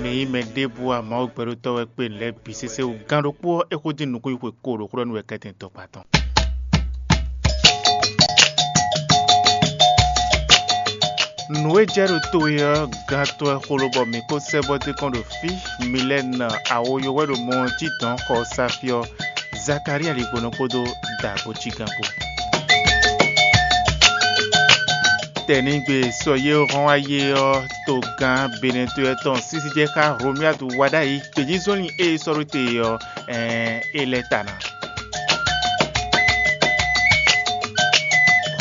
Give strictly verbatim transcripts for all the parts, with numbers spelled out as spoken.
Mǐ nyí mɛ ɖěbǔ a Mawu gbɛɖótɔ́ wɛ kpé nǔ lɛ́ɛ bǐ sésé wú. Gán ɖokpó ɔ́, é xo dín nukún yi xwe ko ɖo xó ɖɔ nú wɛ kɛ́tɛn tɔkpa tɔn. Nǔ e jɛ ɖo to e ɔ́, gán tɔn wɛ xo lobɔ mǐ ko sɛ́ bɔ dé kɔn ɖo fí. Milɛ́nu awoyo wɛ ɖo mɔ ɔ́ jí dɔ̌n xɔ Safi ɔ́, Zakalía ligbonɔ kpódó Dagbo cígán kpó. Tɛ̌nigbe sɔ yé hɔn wá yé ɔ́, togán Benɛtɔ́ tɔn sísí jɛ xá Hlomyadu wá ɖ'ayǐ. Gbějízɔ́nlin e è sɔ́ ɖó te ɔ́, ɛɛn, é lɛ́ ta ná.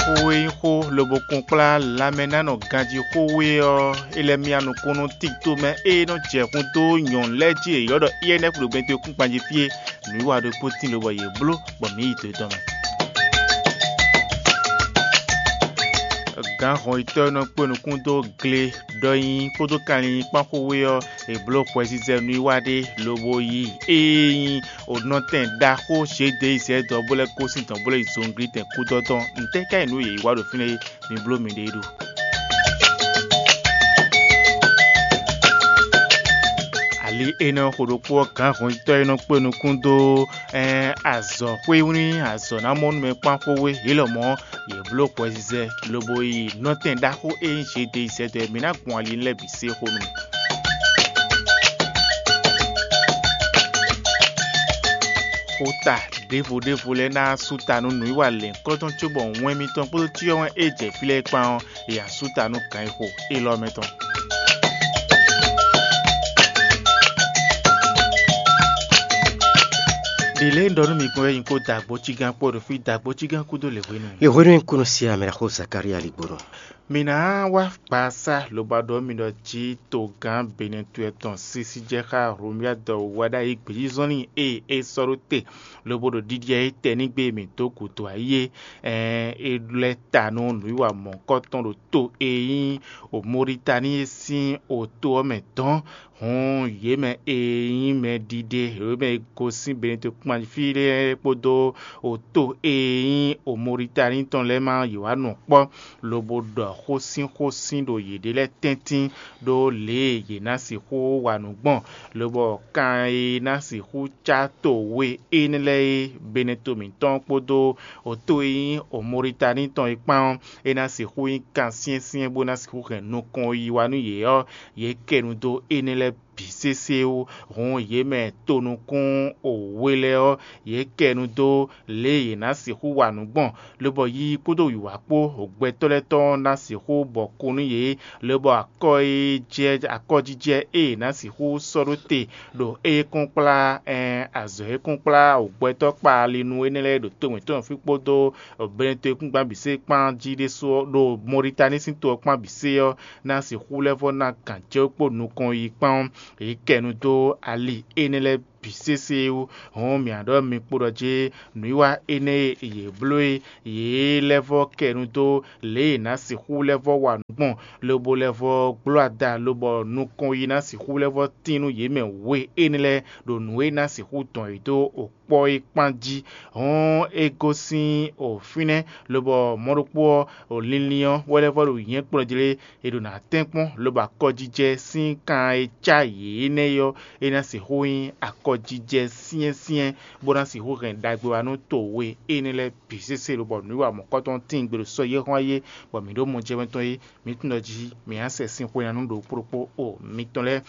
Xó e nyí xó lobo kún kplá lanmɛnánɔ ganjí xó we ɔ́, é lɛ́ myá nukún nú Tito mɛ e nɔ jɛ hun dó nyɔ̌nu lɛ́ɛ jí è ylɔ́ ɖɔ Iyɛ́nɛfu ɖo Benɛtɔ́ kúnkpan jí fí é. Nǔwiwa ɖokpó tín lobɔ yě bló, bɔ mǐ yi to yětɔn mɛ. Gǎn hɔnyitɔ́ e nɔ kpé nukún dó gle ɖɔ nyi kpódó kanlin kpán xó we ɔ́, è bló hwɛzizɛ nǔwiwa ɖé lobo yi ée nyí onɔtɛn ɖaxó Zědeyizɛ́ dɔ̌n bó lɛ́ gosín dɔ̌n bó lɛ́ yi zɔnglítɛn kúdɔdɔn. Ntɛ́ ká nyí nǔ yě yi wa ɖo fínɛ́ é? Mi bló miɖée ɖo. Ali énɛ́ xo ɖokpó ɔ́, gǎn hɔnyitɔ́ e nɔ kpé nukún dó ɛn azɔ̌ xwé wlí azɔ̌ ná mɔ nú mɛ kpán xó we yě lɔmɔ̌, yě bló hwɛzizɛ lobo yi nɔtɛn ɖaxó e nyí Zědeyizɛ́ dɔ̌n é. Mǐ ná gbɔn ali lɛ́ɛ bǐ sé xó nú mì. Xota ɖěvo ɖěvo lɛ́ɛ ná sú ta nú nǔwiwa lɛ̌nkɔ́tɔn cóbɔ wɛn mitɔn kpódó cyɔ wɛn e jɛ fí lɛ́ɛ kpán ɔ́, è nǎ sú ta nú gǎn e xo élɔ́ mɛ tɔn. Ɖě lɛ́ɛ un ɖɔ nú mi gbɔn wɛ nyí kó dagbo cígán kpó ɖo fí, dagbo cígán kúdó lě hwenu. Lě hwenu e un kú nɔ se amɛ ɖaxó Zakalía ligbónɔ. Mǐ ná wá gbasá lobo ɖɔ mì ɖɔ jí togán Benɛtɔ́ tɔn sísí jɛ xá Hlomyadu wá ɖ'ayǐ gbějízɔ́nlin e é sɔ́ ɖó te lobo ɖo ɖiɖi ayǐ tɛnígbe e mǐ dó gǔdo ayí é. Ɛɛn, é lɛ́ ta nú nǔwiwa mɔ̌hunkɔtɔn ɖo to e nyí Mɔlitáni é sín oto ɔ́ mɛ dɔ̌n. Hǔn yě mɛ e nyí mɛɖiɖe, yě mɛ e gosín Benɛtɔ́ kpán fí lɛ́ɛ kpódó oto e nyí Mɔlitáni tɔn lɛ́ɛ má yě wá nɔ kpɔ́, lobo ɖɔ xó sín xó sín ɖo yěɖée lɛ́ɛ tɛ́ntin ɖó lě e yě ná sixú wa nǔ gbɔn, lobɔ kan e ná sixú cá to we énɛ́ lɛ́ɛ é, Benɛto mǐtɔn kpódó oto e nyí Mɔlitáni tɔn é kpán ɔ́, é ná sixú nyí kan syɛ́nsyɛ́n bó ná sixú hɛn nukɔn yiyi wá nú yě ɔ́, yě kɛ nu dó énɛ́ lɛ́ɛ bǐ sésé wú. Hǔn yě mɛ tonukún we lɛ́ɛ ɔ́, yě kɛ nu dó lě e yě ná sixú wa nǔ gbɔn, lobɔ yiyi kpódó wǐwá kpó gbɛtɔ́ lɛ́ɛ tɔn ná sixú bɔ kún nú yě, lobɔ akɔ e jɛ akɔjijɛ e yě ná sixú sɔ́ ɖó te ɖo é kún kplá ɛn azɔ̌ e kún kplá gbɛtɔ́ kpa ali nú énɛ́ lɛ́ɛ ɖo to mǐtɔn fí kpódó Benɛto e kún gbán bǐ sé kpán jí ɖésú ɔ́, ɖo Mɔlitáni sín to ɔ́ kpán bǐ sé ɔ́, ná sixú lɛ́ vɔ́ ná gǎn jɛ kpó nukɔn yi kpán ɔ́, yě kɛ nu dó ali énɛ́ lɛ́ɛ bǐ sésé wú. Hɔn mǐ ɖɔ mi kpo ɖɔ jí nǔwiwa énɛ́ e yě bló é, yě lɛ́ vɔ́ kɛ nu dó lě e è nǎ sixú lɛ́ vɔ́ wa nǔ gbɔn, lobo lɛ́ vɔ́ gbló ada, lobɔ nukɔn yi ná sixú lɛ́ vɔ́ tín nú yě mɛ we énɛ́ lɛ́ɛ ɖo nǔ e ná sixú dɔn yě dó kpɔ́ é kpán jí. Hɔn é gosín fínɛ́, lobɔ mɔ̌ ɖokpó ɔ́, linlin ɔ́ wɛ lɛ́ vɔ́ ɖo nyɛ̌kplɔ́n jlé, è ɖo nǎ tɛ́nkpɔ́n, lobo akɔjijɛ sín kan e cá yě énɛ́ ɔ́, é ná sixú nyí akɔjijɛ syɛ́nsyɛ́n, bó ná sixú hɛn ɖagbe wá nú to we énɛ́ lɛ́ɛ bǐ sésé, lobɔ nǔwiwa mɔ̌kɔtɔn tíin gbe ɖo sɔ́ yé xɔ́n ayé, bɔ mǐ ɖo mɔ jɛmɛ tɔn é, mǐ tunwun ɖɔ jí mǐ ná sɛ sin xwe ná nú ɖo kpóɖokpó o mitɔn lɛ́ɛ.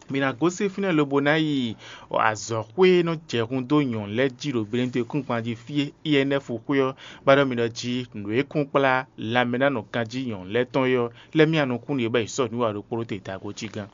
Mǐ ná gosín fínɛ́ lobo ná yi azɔ̌xwé e nɔ jɛ hun dó nyɔ̌nu lɛ́ɛ jí ɖo Benɛto kúngban jí fí e I N F xwé ɔ́, bá ɖɔ mì ɖɔ jí nǔ e kún kplá lanmɛnánɔ ganjí nyɔ̌nu lɛ́ɛ tɔn é ɔ́, lɛ́ mì anukún yě bɔ è sɔ́ nǔ wa ɖokpó ɖó te dago jí gán.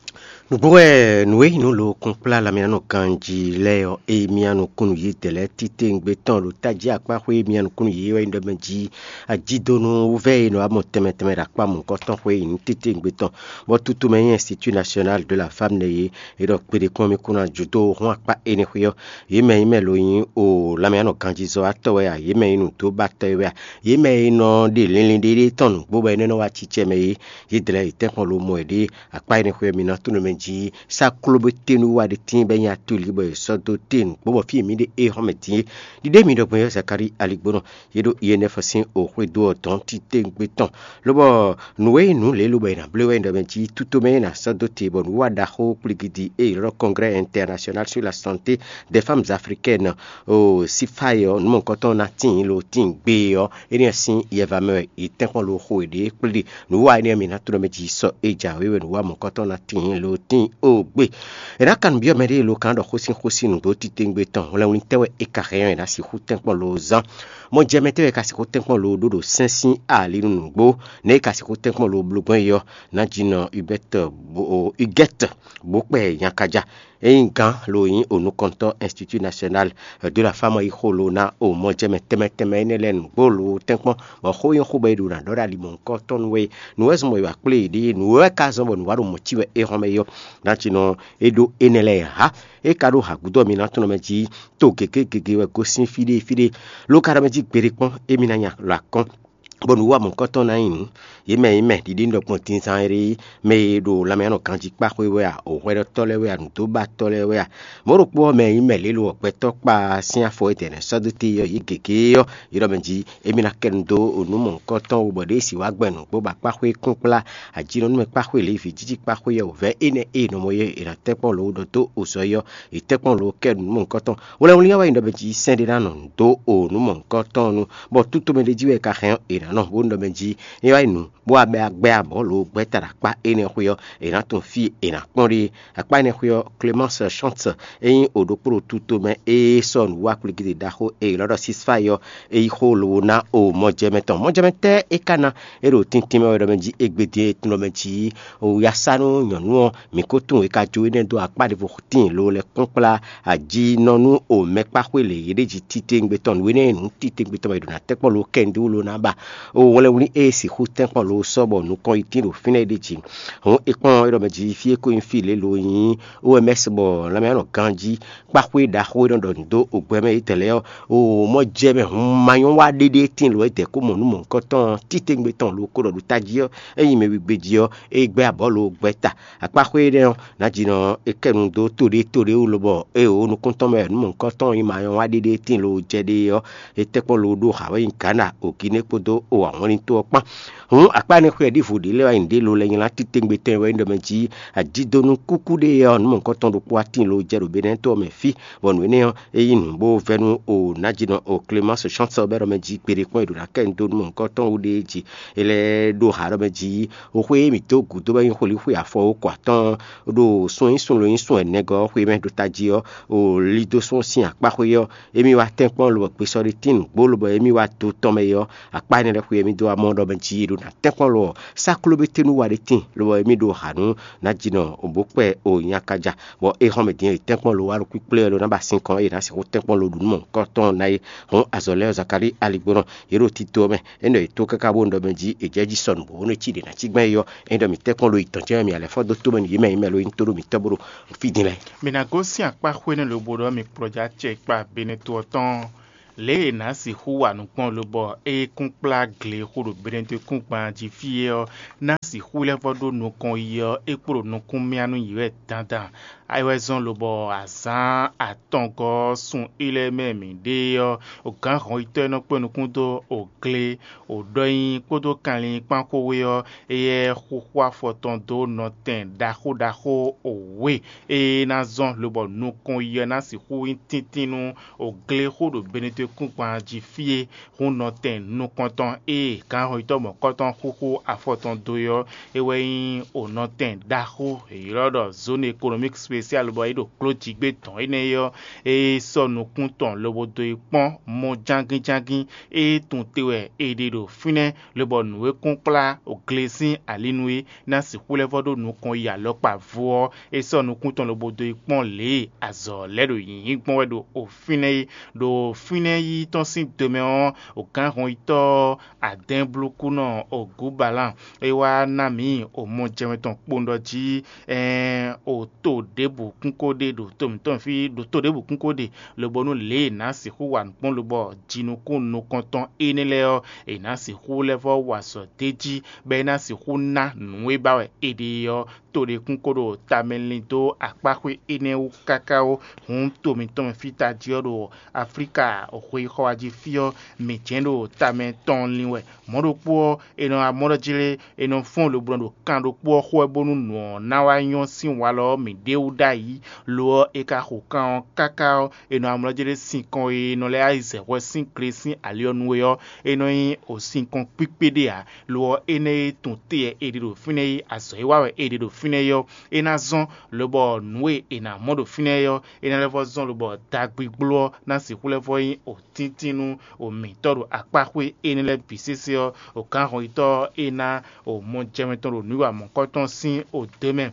Nǔgbó wɛ nǔ e nyí nǔ lo kún kplá lanmɛnánɔ ganjí lɛ́ɛ ɔ́, e mì anukún yě dɛ lɛ́ɛ titewungbe tɔn ɖo tají akpá xwé e mì anukún yě wɛ nyí ɖɔ mɛ jí ajídonu wúvɛ́ e nɔ wá mɔ tɛnmɛ tɛnmɛ ɖo akpá mɔ̌hunkɔtɔn xwé e nyí titewungbe tɔn, bɔ tutu mɛ nyí Institut National de la Femme nɛ́ é. É ɖɔ kpeɖé kpɔ́n mì kún ná jǒ dó hɔn akpá énɛ́ xwé ɔ́, yě mɛ e mɛ lo nyí o lanmɛyánɔ ganjízɔ́watɔ́ wɛ a, yě mɛ e nǔ dó ba tɔ é wɛ a, yě mɛ e nɔ ɖe linlin ɖéɖé tɔn nǔgbó bɔ é nɛ́ nɔ wá cícɛ mɛ é, yě dlɛ̌ yě tɛ́nkpɔ́n lo mɔ yěɖée. Akpá énɛ́ xwé ɔ́, mi ná tunwun mɛ jí sá klóbéténu wá ɖé tíin bɔ é nyí atolí bɔ è sɔ́ dó te nǔgbó bɔ fí e mǐ ɖe éhɔ́mɛ din é. Ɖiɖe mǐ ɖɔ gbɔn yɔ́ Zakalíi aligbónɔ, yě ɖo Yɛnɛfɔ sín oxwédo ɔ́ dɔn titewungbe tɔn, lobɔ nǔ e nyí nǔ lě lobo è nǎ bló wɛ nyí ɖɔ mɛ jí tutomɛ e è nǎ sɔ́ dó te bɔ nǔwiwa ɖaxó kpligidi e è ylɔ́ ɖɔ Congrès International sur la Santé des Femmes Africaines, o sífáyɔ nǔmɔkɔtɔn ná tíin lo tíin gbe ɔ́, énɛ́ sín yɛva mɛ wɛ è tɛ́nkpɔ́n lo xo è ɖě kplé ɖe. Nǔwiwa énɛ́ mǐ ná tlɔ́ mɛ jí sɔ é jǎwe wɛ nǔwiwa mɔ̌kɔtɔn ná tíin lo tíin ó gbe. È nǎ kan nǔ byɔ́ mɛɖée lo kan ɖɔ xósínxósín nǔgbó titewungbe tɔn hwlɛngwlín tɛ́ wɛ é ka hɛn ɔ́ è nǎ sixú tɛ́nkpɔ́n lo zán. Mɔjɛmɛ tɛ́ wɛ è ka sixú tɛ́nkpɔ́n lo ɖó ɖo sɛ́n sín ali nú nǔgbó, nɛ̌ è ka sixú tɛ́nkpɔ́n lo bló gbɔn é ɔ́, Nǎjínɔ Hubert Bo- Huguette Bokpɛ Nyakaja, é nyí gǎn lo nyí onukɔntɔ́ Institut National de la Femme yi xo lo ná o mɔjɛmɛ tɛnmɛ tɛnmɛ énɛ́ lɛ́ɛ nǔgbó lo tɛ́nkpɔ́n, bɔ xó nyí xó bɔ è ɖo ná ɖɔ ɖo ali mɔ̌hunkɔtɔn nú we. Nǔ wɛ zɔ́n bɔ è wǎ kplé yě ɖe, nǔ wɛ ka zɔ́n bɔ nǔ wá ɖo mɔ̌ cí wɛ é hɔn mɛ é ɔ́, Nǎjínɔ é ɖó énɛ́ lɛ́ɛ ǎ. É ka ɖó hǎgúdo ɔ́ mi ná tunwun mɛ jí to gěgé gěgé wɛ gosín fí ɖé fí ɖé, ló ka ɖɔ mɛ jí gbeɖé kpɔ́n émí ná nya lɔ akɔ́n, bɔ nǔ wa mɔ̌kɔtɔn ná nyi nǔ. Yě mɛ nyí mɛ ɖiɖi ɖɔ gbɔn dinzan e ɖe mɛ e ɖo lanmɛ nɔ ganjí kpá xwé wɛ a, o hwɛɖɔtɔ́ lɛ́ɛ wɛ a, nǔdóbatɔ́ lɛ́ɛ wɛ a, mɔ̌ ɖokpó ɔ́ mɛ nyí mɛ lě lo ɔ́ gbɛtɔ́ kpa sín afɔ e dɛ̌nɛ́ sɔ́ dó te ɔ́, yě gěgé ɔ́, yě ɖɔ mɛ jí émí ná kɛ nu dó nǔ mɔ̌hunkɔtɔn wú bɔ ɖěe sì wá gbɛn nǔgbó bɔ akpáxwé kúnkplá, ajínɔnúmɛ kpáxwé lě vǐ jíjí kpáxwé yɛ wǔvɛ́ énɛ́ e nɔ mɔ yɛ è nǎ tɛ́nkpɔ́n lǒ ɖɔ dó ozɔ yɔ, è tɛ́nkpɔ́n lǒ kɛ nǔ mɔ̌hunkɔtɔn. Hwlɛngwlín ɔ́ wɛ nyí ɖɔ mɛ jí sɛ́n ɖé ná nɔ dó o nǔ mɔ̌hunkɔtɔn nu, bɔ tito mɛ ɖé jí wɛ è ka hɛn ɔ́, è nǎ nɔ bó nú ɖɔ mɛ jí é wá nyí nǔ bó wá bɛ gbɛ abɔ̌ lǒ gbɛ́ ta ɖo akpá énɛ́ xwé ɔ́, è nǎ tunwun fí e è nǎ kpɔ́n ɖe. Akpá énɛ́ xwé ɔ́, Clémence Chance é nyí o ɖokpó ɖo tito mɛ e sɔ́ nǔwú akpligiɖe ɖaxó e è nɔ ɖɔ sísfáyi ɔ́, é yí xó lobo ná o mɔjɛmɛ tɔn. Mɔjɛmɛ tɛ́ é ka ná? É ɖo tíntín mɛ wɛ ɖɔ mɛ jí égbé din e tunɔ mɛ jí o ya sá nú nyɔ̌nu ɔ́, mǐ ko tunwun è ka jó énɛ́ dó akpá ɖěvo tíin lo lɛ́ kpɔ́n kplá ajínɔnú o mɛkpáxwé lě yě ɖe jí titewungbe tɔn nǔ énɛ́ e nǔ titewungbe tɔn mɛ è ɖo ná tɛ́kpɔ́n lo kɛ́ndú lo ná ba o wlɛ́nwlí e sixú tɛ́nkpɔ́n lo sɔ́ bɔ nukɔn yi tín ɖo fínɛ́ é ɖe jí. Hǔn è kpɔ́n é ɖɔ mɛ jí fí e ko nyí fí lě lo nyí O M S bɔ lanmɛ nɔ ganjí kpáxwé ɖaxó e nɔ ɖɔ nǔ dó ogbɛ mɛ yětɛn lɛ́ɛ ɔ́, o mɔ jɛ mɛ hun ma nyɔ́ wá ɖéɖé tíin lo é dɛ̌ kó mɔ nú mɔ̌hunkɔtɔn titewungbe tɔn lo ko ɖɔ ɖo tají ɔ́, é nyi mɛ wigbe jí ɔ́, é gbɛ́ abɔ̌ lo gbɛ́ ta. Akpáxwé énɛ́ ɔ́, Nǎjínɔ é kɛ nu dó to ɖé to ɖé wú lobɔ é wǒ nukún tɔn mɛ nǔ mɔ̌hunkɔtɔn e ma nyɔ́ wá ɖéɖé tíin lo jɛ ɖe ɔ́, é tɛ́ kpɔ́n lo ɖó Hawaii, Ghana, Oginé kpódó o awɔnlín tó ɔ́ kpán. Hǔn akpá énɛ́ xwé ɔ́ ɖěvo ɖě lɛ́ɛ wá nyi ɖě lo lɛ́ nylá titewungbe tɔn e wɛ nyí ɖɔ mɛ jí adidonu kúkú ɖé ɔ́, nǔ mɔ̌hunkɔtɔn ɖokpó wá tíin lo jɛ ɖo Benɛ́ɛ to ɔ́ mɛ fí, bɔ nǔ énɛ́ ɔ́, é yí nǔ bó vɛ́ nú o Nǎjínɔ o Clémence Chance ɔ́ bɔ é ɖɔ mɛ jí gbeɖé kpɔ́n è ɖǒ ná kɛ nu dó nú mɔ̌hunkɔtɔn wú ɖéé jí. É lɛ́ ɖó ha ɖɔ mɛ jí xwé e mǐ dó gǔdo wɛ nyí xwlíxwé afɔ ó kɔ atɔ́ɔ́n ɖo sun e nyí sun lo nyí sun ɛnɛgɔ́ ɔ́ xwé mɛ ɖo tají ɔ́, o Lidosɔn sín akpáxwé ɔ́, émí wá tɛ́nkpɔ́n lobɔ gbesɔ ɖé tín nǔgbó lobɔ émí wá do tɔn mɛ é ɔ́, akpá énɛ́ lɛ́ɛ xwé émí dó wá mɔ ɖɔ mɛ jí è ɖo ná tɛ́nkpɔ́n lo ɔ́, sáklóbéténu wa ɖé tíin lobɔ émí ɖo ha nú Nǎjínɔ bó kpɛ o nyakaja, bɔ é xɔ́n mɛ din e tɛ́nkpɔ́n lo wá ɖo kpíkplé ɔ́ ɖó ná ba sinkɔn é ná sixú tɛ́nkpɔ́n lo ɖu nú mɔ̌hunkɔtɔn ná é. Hǔn azɔ̌ lɛ́ɛ ɔ́, Zakalíi aligbónɔ, yě ɖo tito ɔ́ mɛ, é nɔ yě tó káká bó nɔ ɖɔ mɛ jí è jɛ jí sɔnù bó nɔ cí ɖě ná cí gbɛn é ɔ́, é ɖɔ mǐ tɛ́nkpɔ́n lo yi tɔn jɛ́n wɛ mǐ alɛ fɔ́ dó tómɛ nú yě mɛ nyí mɛ lo nyí tó ɖo mǐtɔn bó ɖo fí din lɛ́ɛ. Mǐ ná gosín akpá xwé nɛ́ lobo ɖɔ mì kplɔ́ jɛ acɛ kpa Benɛto ɔ́ tɔn. Lě e è nǎ sixú wa nǔ gbɔn lobɔ é kún kplá gle xo ɖo Benɛto kúngban jí fí é ɔ́, ná sixú lɛ́ vɔ́ ɖó nukɔn yi ɔ́, é kpo ɖo nukún myá nú yě wɛ dandan. É wɛ zɔ́n lobɔ azǎn atɔngɔ́ ɔ́ sun élɛ́ mɛ mǐ ɖe ɔ́, gǎn hɔnyitɔ́ e nɔ kpé nukún dó ogle, wǒ ɖɔ nyi kpódó kanlin kpán xwé ɔ́, éyɛ́ xúxú afɔ tɔn dó nɔtɛn ɖaxó ɖaxó wěwe e ná zɔ́n lobɔ nukɔn yi ɔ́ ná sixú nyí tíntín nú ogle xo ɖo Benɛto kúngban jí fí é. Hun nɔtɛn nukɔntɔn e gǎnhɔnyitɔ́ mɔ̌kɔtɔn xúxú afɔ tɔn dó é ɔ́, é wɛ nyí o nɔtɛn ɖaxó e è ylɔ́ ɖɔ zone économique spéciale bɔ é ɖo kló jǐgbé tɔn énɛ́ é ɔ́, é sɔ́ nukún tɔn lobo dó yi kpɔ́n mɔ jángín jángín. É tunwun te wɛ è ɖe ɖo fínɛ́, lobɔ nǔ e kún kplá glesín ali nú é ná sixú lɛ́ vɔ́ ɖó nukɔn yi alɔkpa vo ɔ́, é sɔ́ nukún tɔn lobo dó yi kpɔ́n lě e azɔ̌ lɛ́ɛ ɖo nyǐnyí gbɔn wɛ ɖo fínɛ́ é. Ɖo fínɛ́ yíyí tɔn sín do mɛ ɔ́, gǎnhɔnyitɔ́ adɛ̌nblúkúnɔ Ogubalan é wá ná mǐ omɔjɛmɛ tɔn kpowun ɖɔ jí, ɛɛn, o to ɖě ɖěbǔ kún ko ɖe ɖo to mǐtɔn fí, ɖo to ɖěbǔ kún ko ɖe, lobonu lě e è nǎ sixú wa nǔ gbɔn lobɔ jinukún nukɔntɔn énɛ́ lɛ́ɛ ɔ́, è nǎ sixú lɛ́ vɔ́ wa azɔ̌ d'é jí, bɔ é ná sixú ná nǔ e ba wɛ è ɖe é ɔ́, to ɖé kún ko ɖo tamɛ lin dó akpáxwé énɛ́ wú káká ó. Hǔn to mǐtɔn mɛ fí tají ɔ́ ɖo Aflíka xweyíxɔ wá jí fí ɔ́, mǐ jɛ́n ɖo tamɛ tɔn lin wɛ. Mɔ̌ ɖokpó ɔ́, è nɔ wá mɔ ɖɔ jlé, è nɔ fɔ́n lobo nɔ ɖo kan ɖokpó ɔ́ xo wɛ bónú nǔ ɔ́ ná wá nyɔ́ sín walɔ ɔ́ mǐ ɖ'é wú ɖ'ayǐ. Lo ɔ́, è ka xo kan ɔ́ káká ɔ́, è nɔ wá mɔ ɖɔ jlé sinkɔn e è nɔ lɛ́ wá yi zɛ hwɛ sín gle sín ali ɔ́ nu é ɔ́, é nɔ nyí o sinkɔn kpíkpé ɖé ǎ. Lo ɔ́, énɛ́ e tun te wɛ è ɖe ɖo fínɛ́ é, azɔ̌ e wa wɛ è ɖe ɖo fínɛ́ é ɔ́, é ná zɔ́n, lobɔ nǔ e è nǎ mɔ ɖo fínɛ́ é ɔ́, é ná lɛ́ vɔ́ zɔ́n, lobɔ dagbigblo ɔ́ ná sixú lɛ́ vɔ́ nyí o tíntín nú o mǐtɔ́ ɖo akpáxwé énɛ́ lɛ́ɛ bǐ sésé ɔ́, o gǎnhɔnyitɔ́ ɔ́, é ná o mɔjɛmɛ tɔn ɖo nǔwiwa mɔ̌kɔtɔn sín o dó mɛ.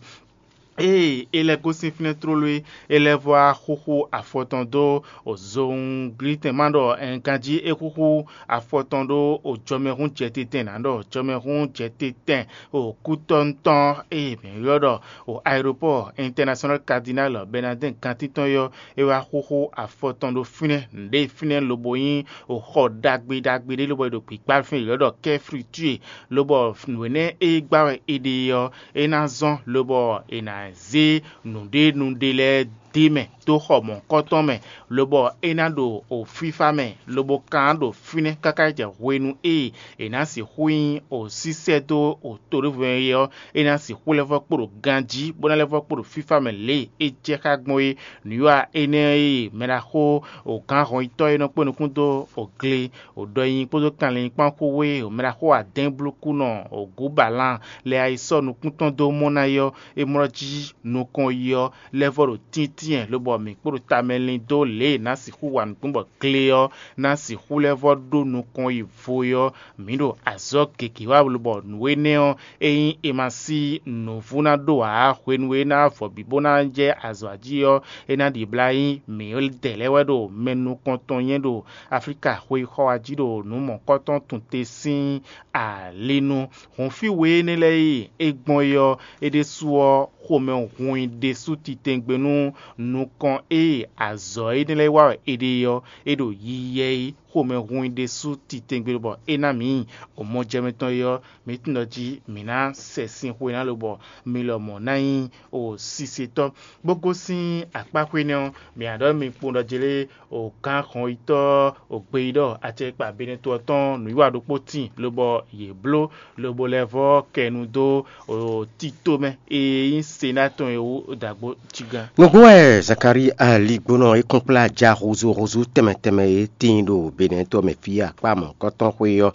Ée é lɛ́ gosín fínɛ́ tlóló é, é lɛ́ vɔ́ wá xúxú afɔ tɔn dó o zowunglítɛn ma ɖɔ ɛn ganjí é xúxú afɔ tɔn ɖó o jɔmɛhún jɛtitɛn nǎ ɖɔ jɔmɛhún jɛtitɛn o kútɔ́ntɔn e mǐ ylɔ́ ɖɔ o aeropɔ́ɔ intɛnasionál kadinál Bɛnadɛ́n gantítɔn é ɔ́, é wá xúxú afɔ tɔn ɖó fínɛ́, nǔɖé fínɛ́ lobo nyí o xɔ ɖagbe ɖagbe ɖé lobɔ è ɖo gbǐgbá fínɛ́ è ylɔ́ ɖɔ kɛ́flitúe, lobɔ nǔ énɛ́ e gbá wɛ è ɖe é ɔ́, é ná zɔ́n lobɔ è nǎ zé nǔɖé nǔɖé lɛ́ɛ dó mɛ dó xɔ mɔ̌hunkɔtɔn mɛ, lobɔ é ná ɖo o fífá mɛ, lobo kan ɖo fínɛ́ káká yi jɛ hwenu e è nǎ sixú nyí o sísɛ́ dó o to ɖěvo mɛ é ɔ́, é ná sixú lɛ́ vɔ́ kpo ɖo ganjí, bó ná lɛ́ vɔ́ kpo ɖo fífá mɛ lě e é jɛ xá gbɔn é. Nǔwiwa énɛ́ e mɛɖaxó o gǎnhɔnyitɔ́ e nɔ kpé nukún dó o gle o ɖɔ nyi kpódó kanlin kpán xó wé o mɛɖaxó adɛ́nblúkúnɔ o gǔbalan lɛ ayisɔ́ nukún tɔn dó mɔ ná é ɔ́, é mlɔ́ jí nukɔn yi ɔ́ lɛ́ vɔ́ ɖo tíntín lobɔ mǐ kpo ɖo tamɛ lin dó lě e è nǎ sixú wa nǔgbó bɔ gle ɔ́ ná sixú lɛ́ vɔ́ ɖó nukɔn yi vo é ɔ́, mǐ ɖo azɔ̌ gěgé wa lobɔ nǔ énɛ́ ɔ́, ényí è ma sí nǔvú ná ɖó ǎ, hwenu e é ná vɔ bǐ bó ná jɛ azɔ̌ jí ɔ́, é ná ɖibla nyí mǐdɛɛ lɛ́ɛ wɛ ɖo mɛ nukɔntɔn nyɛ́ ɖo Aflíka xweyíxɔ wá jí ɖo nǔ mɔ̌kɔtɔn tun te sín ali nu. Hǔn fí we énɛ́ lɛ́ɛ e é gbɔn é ɔ́, é ɖésú ɔ́, xomɛ hun i ɖésú titɛngbe nú nukɔn e azɔ̌ énɛ́ lɛ́ɛ wa wɛ è ɖe é ɔ́, é ɖo yiyi wɛ é. Xomɛ hun i ɖésú titɛngbe bɔ é ná mǐ o mɔjɛmɛ tɔn é ɔ́, mǐ tunwun ɖɔ jí mǐ ná sɛ sin xwe ná lobɔ mi lɔmɔ̌ ná nyí o sisetɔ́. Bó gosín akpáxwé nɛ́ ɔ́, mǐ ná ɖɔ mi kpowun ɖɔ jlé o gǎn xɔnyitɔ́ o gbeyíɖɔ acɛkpa Benɛto ɔ́ tɔn nǔwiwa ɖokpó tíin, lobɔ yě bló, lobo lɛ́ vɔ́ kɛ nu dó o tito mɛ e nyí Sená tɔn é wú dǎgbó jí gán. Nǔgbó wɛ Zakalíi aligbónɔ e kún kplá ja húzúhúzú tɛnmɛ tɛnmɛ e tíin ɖo Benɛto mɛ fí akpá mɔ̌hunkɔtɔn xwé ɔ́,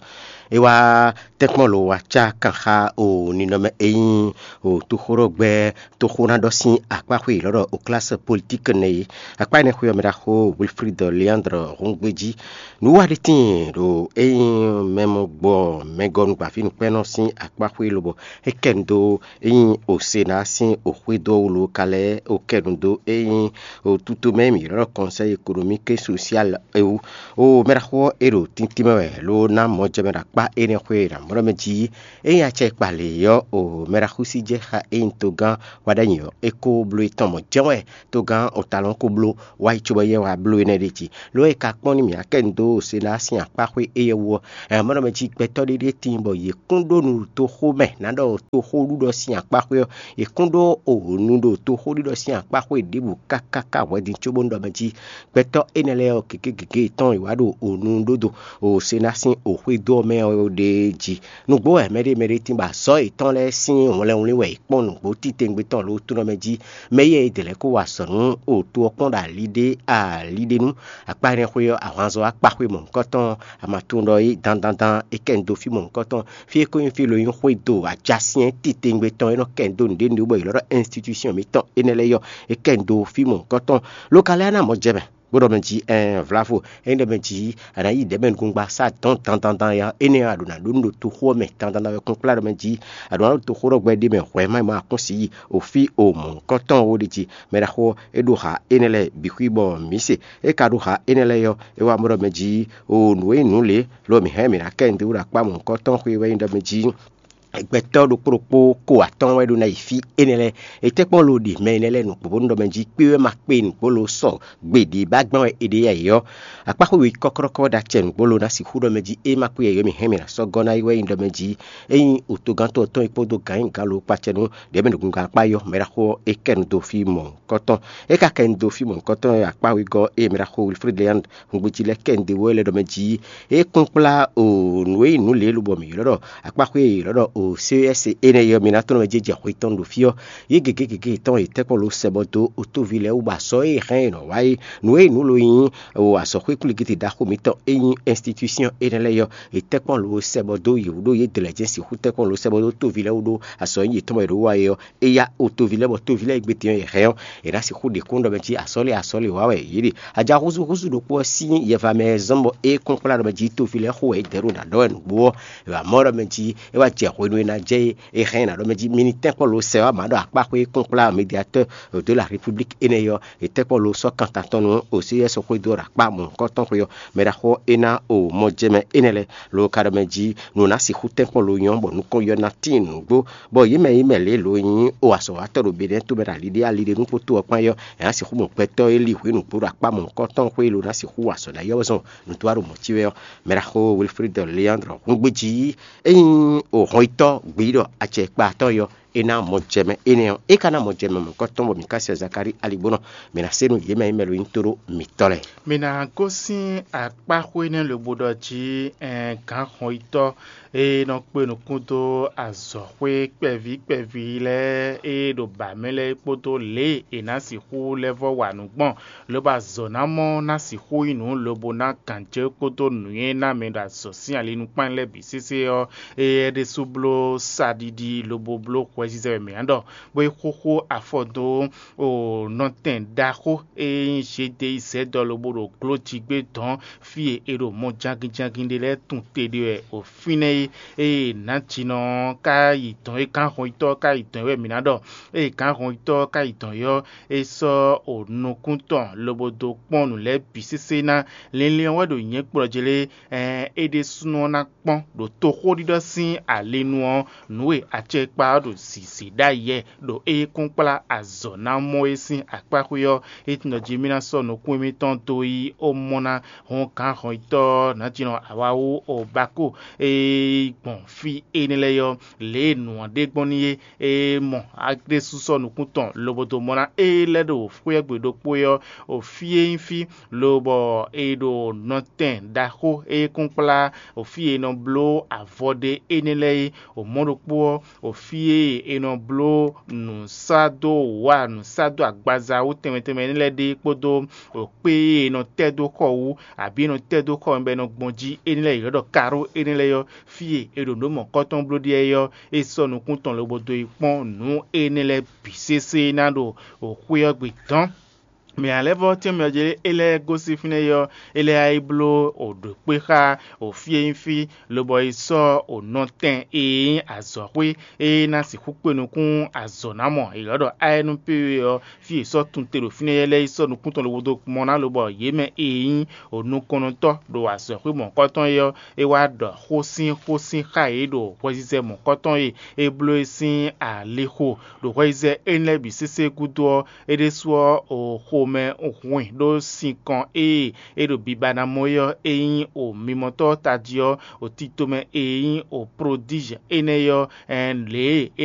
é wá tɛ́nkpɔ́n lo wá cá kan xá o ninɔmɛ e nyí o toxóɖɔgbɛ́ toxónaɖɔ sín akpáxwé yě lɔ́ ɖɔ Oklásɔ Politíki nɛ́ é. Akpá énɛ́ xwé ɔ́ mɛ ɖaxó Wilfrid Leandre Hɔngbéjí. Nǔwa ɖé tíin ɖo é nyí mɛ mɔ gbɔ mɛgɔ́nugbaví nukpɛ́nɔ sín akpáxwé lobɔ é kɛ nu dó é nyí Osená sín oxwédó wú lo ka lɛ́ɛ o kɛ nu dó é nyí o tutomɛ mǐ ylɔ́ ɖɔ Conseil économique et social é wú. O mɛ ɖaxó ɔ́ é ɖo tíntín mɛ wɛ ló ná mɔjɛmɛ ɖo akpá énɛ́ xwé ɖo amɔ̌ mɛ jí. Ényí acɛ kpa lě ɔ́, o mɛ ɖaxó sí jɛ xá ényí togán wa ɖ'ayǐ ɔ́, é kó bló étɔn mɔ̌ jɛ́n wɛ togán o talɔn ko bló wá yi cóbɔ yɛ wá bló énɛ́ ɖ'é jí. Lo e ka kpɔ́n nú mǐ akɛ́ nu dó Sená sín akpáxwé éyɛ́ wú ɔ́, amɔ̌ mɛ jí gbɛtɔ́ ɖé ɖíe tíin bɔ yě kún ɖó nu ɖo toxo mɛ ná ɖɔ toxóɖuɖɔ sín akpáxwé ɔ́, yě kún ɖó o nu ɖo toxóɖuɖɔ sín akpáxwé ɖěbǔ káká ká hwɛ̌din cóbónú ɖɔ mɛ jí gbɛtɔ́ énɛ́ lɛ́ɛ ɔ́, gěgé gěgé yětɔn è wǎ ɖo o nu ɖó do o Sená sín oxwédó ɔ́ mɛ ɔ́ ɖ'é jí. Nǔgbó wɛ mɛɖé mɛɖé tín bɔ azɔ̌ yětɔn lɛ́ɛ sín hwlɛnwlín wɛ è kpɔ́n nǔgbó titewungbe tɔn lǒ tónɔ mɛ jí, mɛ yɛ è dě lɛ́ kó wa azɔ̌ nú o to ɔ́ kpɔ́n ɖo ali ɖé ali ɖé nú. Akpá énɛ́ xwé ɔ́, ahwanzɔ́ akpáxwé mɔ̌hunkɔtɔn, a ma tunwun ɖɔ é dandandan é kɛ nu dó fí mɔ̌hunkɔtɔn, fí e ko nyí fí e lo nyí xwédo ajasyɛ́n titewungbe tɔn e nɔ kɛ nu dó nǔɖé nǔɖé bɔ è ylɔ́ ɖɔ institution mǐtɔn énɛ́ lɛ́ɛ yɔ, é kɛ nu dó fí mɔ̌hunkɔtɔn. Lo ka lɛ́ ná mɔ jɛ mɛ bó ɖɔ mɛ jí ɛn vlavo, ényí ɖɔ mɛ jí a nǎ yi ɖɛ̌ mɛ nukúngbasá dɔn dandandan ya énɛ́ ɔ́, a ɖǒ ná ɖó nú ɖo toxo ɔ́ mɛ dandandan wɛ kún kplá ɖɔ mɛ jí a ɖǒ ná ɖo toxo ɖɔ gbɛ ɖé mɛ hwɛ má yi má kún si yi o fí o mɔ̌hunkɔtɔn ó ɖe jí. Mɛ ɖaxó ɔ́, é ɖo ha énɛ́ lɛ́ɛ bǐ xwí bɔ mǐ se. É ka ɖo ha énɛ́ lɛ́ɛ ɔ́, é wá mɔ ɖɔ mɛ jí o nǔ e nyí nǔ lě, lo mǐ hɛn mǐ ná kɛ nǔɖé wú ɖo akpá mɔ̌hunkɔtɔn xwé wɛ nyí ɖɔ mɛ jí Gbɛtɔ́ ɖokpó ɖokpó ko atɔ́ɔ́n wɛ ɖó ná yi fí énɛ́ lɛ́ɛ. È tɛ́ kpɔ́n lo ɖi mɛ énɛ́ lɛ́ɛ nǔgbó bónú ɖɔ mɛ jí kpé wɛ ma kpé nǔgbó lo sɔ gbe ɖě ba gbɔn wɛ è ɖe yɛ yě ɔ́, akpáxwé wěkɔ́klɔ́kɔ́ ɖo acɛ nǔgbó lo ná sixú ɖɔ mɛ jí é ma kpé yɛ yě ɔ́, mǐ hɛn mǐ ná sɔ́ gɔ́ ná yi wɛ nyí ɖɔ mɛ jí é nyí wǔtogán tɔn tɔn e kpódó gǎn nyi gǎn lo kpacɛnú ɖěbǔ nukúngán akpá yɔ́ mɛ ɖaxó ɔ́ é kɛ nu dó fí mɔ̌hunkɔtɔn. É ka kɛ nu dó fí mɔ̌hunkɔtɔn e akpá wegɔ́ e mɛ ɖaxó Wilfrid Leand hungbejí lɛ́ɛ kɛ nu dó wɛ lɛ́ ɖɔ mɛ jí é kplɔ́nkplá o nǔ e nyí nǔ lě lobɔ mǐ ylɔ́ ɖɔ akpáxwé e è ylɔ́ ɖɔ o C E S énɛ́ é ɔ́, mi ná tɔ́n mɛ jɛ jɛ xwe tɔn ɖo fí ɔ́. Yě gěgé gěgé tɔn yě tɛ́ kpɔ́n lo sɛ bɔ dó otóví lɛ́ɛ wú bɔ azɔ̌ e è hɛn è nɔ wa é. Nǔ e nyí nǔ lo nyí o azɔ̌xwé kwlígíte ɖaxó mǐtɔn e nyí institution énɛ́ lɛ́ɛ ɔ́, è tɛ́ kpɔ́n lo sɛ bɔ dó yě wú ɖó yě dlɛ̌ jɛ́n sixú tɛ́ kpɔ́n lo sɛ bɔ dó tóví lɛ́ɛ wú ɖó azɔ̌ e nyí yětɔn mɛ è ɖǒ wa é ɔ́. É yá otóví lɛ́ɛ bɔ tóví lɛ́ɛ e gbé din ɔ́ yě hɛn ɔ́, è nǎ sixú ɖe kún ɖɔ mɛ jí asɔ́lé asɔ́lé wǎ wɛ yě ɖe. Aja húzúhúzú ɖokpó ɔ́ sín yɛva mɛ e zɔ́n bɔ é kplɔ́nkplá ɖɔ mɛ jí tóví lɛ́ɛ xo wɛ é dɛ̌ ɖo nǎ ɖɔ wɛ nǔgbó ɔ́, è wǎ mɔ ɖɔ mɛ jí é wá jɛ hwenu e ná jɛ é, è hɛn ɛ ná ɖɔ mɛ jí mi ní tɛ́nkpɔ́n lo sɛ wá mǎ ɖɔ akpáxwé kplɔ́nkplá médiatɛ́ de la République énɛ́ ɔ́, è tɛ́nkpɔ́n lo sɔ́ kan tantɔ́ nú Oseyɛ́ sɔ́ xwedó ɖo akpá mɔ̌hunkɔtɔn xwe ɔ́, mɛ ɖaxó ɔ́ é ná o mɔ jɛ mɛ énɛ́ lɛ́ɛ, lo ka ɖɔ mɛ jí nǔ ná sixú tɛ́nkpɔ́n lo nyɔ́ bɔ nukɔn yɔ ná tíin nǔgbó, bɔ yě mɛ yě mɛ lě lo nyí o azɔ̌watɔ́ ɖo Benɛ́ɛ tomɛ ɖo ali ɖé ali ɖé nú kpótó ɔ́ kpán é ɔ́, è nǎ sixú mɔ gbɛtɔ́ e li hwǐ nǔgbó ɖo akpá mɔ̌hunkɔtɔn xwé lo ná sixú wa azɔ̌ ná yɔ́ zɔn nǔtúwa ɖo mɔ̌ cí wɛ ɔ́, mɛ ɖaxó Wilfrid Leandre húngbéjí é nyí o hɔnyitɔ́ gbeyíɖɔ acɛkpa tɔn yɔ é ná mɔ jɛ mɛ énɛ́ ɔ́, é ka ná mɔ jɛ mɛ mɔ̌hunkɔtɔn bɔ mǐ ka sɛ Zakalíi aligbónɔ, mǐ ná se nú yě mɛ e mɛ lo nyí tóɖó mǐtɔn lɛ́ɛ. Mi ná gosín akpáxwé nɛ́ lobo ɖɔ jí ɛn gǎn hɔnyitɔ́ e nɔ kpe nukún dó azɔ̌xwé kpɛví kpɛví lɛ́ɛ e ɖo bǎ mɛ lɛ́ɛ kpódó lě e è nǎ sixú lɛ́ vɔ́ wa nǔ gbɔn, lobo azɔ̌ ná mɔ ná sixú nyí nǔ lobo ná gǎnjɛ́ kpódó nǔnywɛ́ ná mɛ ɖo azɔ̌ sín ali nukpán lɛ́ɛ bǐ sésé ɔ́, éyɛ́ ɖésú bló saɖiɖi lobo bló hwɛzizɛ wɛ mǐ ná ɖɔ, bó yi xóxó afɔ dó o nɔtɛn ɖaxó e nyí Zedeyizɛ́dɔ lobo ɖo glójigbé dɔn fí e è ɖo mɔ jangin jangin ɖé lɛ́ɛ tun te ɖe wɛ o fínɛ́ é. Ée nǎjinɔ ɔ́ ka yi dɔn é gǎn hɔnyitɔ́ ɔ́ ka yi dɔn é wɛ mǐ ná ɖɔ. Ée gǎn hɔnyitɔ́ ɔ́ ka yi dɔn é ɔ́, é sɔ́ o nukún tɔn lobo dó kpɔ́n nǔ lɛ́ɛ bǐ sésé ná. Linlin ɔ́ wɛ ɖo nyɛ̌ kplɔ́ jí lé, ɛn é ɖésúnɔ ná kpɔ́n ɖo toxóɖiɖɔ sín alinu ɔ́, nǔ e acɛkpa ɔ́ ɖo zǐzí ɖ'ayǐ wɛ ɖo é kún kplá azɔ̌ ná mɔ é sín akpáxwé ɔ́, é tunwun ɖɔ jí mì ná sɔ́ nukún émítɔn dó yí ó mɔ ná hɔn gǎn hɔnyitɔ́ ɔ́ nǎjínɔ awáwú Obako e gbɔn fí énɛ́ lɛ́ɛ ɔ́, lě e nǔ ɔ́ ɖe gbɔn n'i é. É mɔ Aklúnɔsúsɔ nukún tɔn lobo dó mɔ ná é lɛ́ ɖo xwé ɔ́ gbe ɖokpó é ɔ́, o fí e nyí fí, lobɔ è ɖo nɔtɛn ɖaxó e kún kplá o fí e è nɔ bló avɔ ɖe énɛ́ lɛ́ɛ é. O mɔ̌ ɖokpó ɔ́, o fí e è nɔ bló nǔsádó wǎ nǔsádó agbaza wú tɛnmɛ tɛnmɛ énɛ́ lɛ́ɛ ɖe kpódó o kpé e è nɔ tɛ́ dó xɔ wú, abǐ è nɔ tɛ́ dó xɔ bɔ è nɔ gbɔn jí énɛ́ lɛ́ɛ è ylɔ́ ɖɔ karó énɛ́ lɛ́ɛ ɔ́, fí e è ɖo nǔ mɔ̌kɔ́tɔn bló ɖe ɔ́, é sɔ́ nukún tɔn lobo dó yi kpɔ́n nǔ énɛ́ lɛ́ɛ bǐ sésé ná ɖo xwé ɔ́ gbe dɔn. Mɛ ǎ lɛ́ɛ vɔ́ tɛ́nmɛ ɔ́ jɛ é lɛ́ɛ gosín fínɛ́ é ɔ́, é lɛ́ɛ yá yi bló o ɖǒ kpé xá o fí e nyí fí, lobɔ yi sɔ́ o nɔtɛn e nyí azɔ̌xwé e ná sixú kpe nukún azɔ̌ ná mɔ è ylɔ́ ɖɔ ayɛ́núpéwe ɔ́, fí e è sɔ́ tun te ɖo fínɛ́ é lɛ́ɛ yi sɔ́ nukún tɔn lobo dó mɔ ná lobɔ yě mɛ e nyí o nukɔntɔ́ ɖo azɔ̌xwé mɔ̌kɔtɔn é ɔ́, é wá ɖɔ xó sín xó sín xá yě ɖo hwɛzizɛ mɔ̌kɔtɔn e é bló é sín alixo ɖo hwɛzizɛ énɛ́ lɛ́ɛ bǐ sésé gúdo ɔ́, é ɖésú ɔ́, o xomɛ hwin ɖó sinkɔn e é ɖo biba ná mɔ é ɔ́, é nyí o mimɔtɔ́ tají ɔ́, o titomɛ e nyí o prodízɛ énɛ́ é ɔ́, ɛn lě e é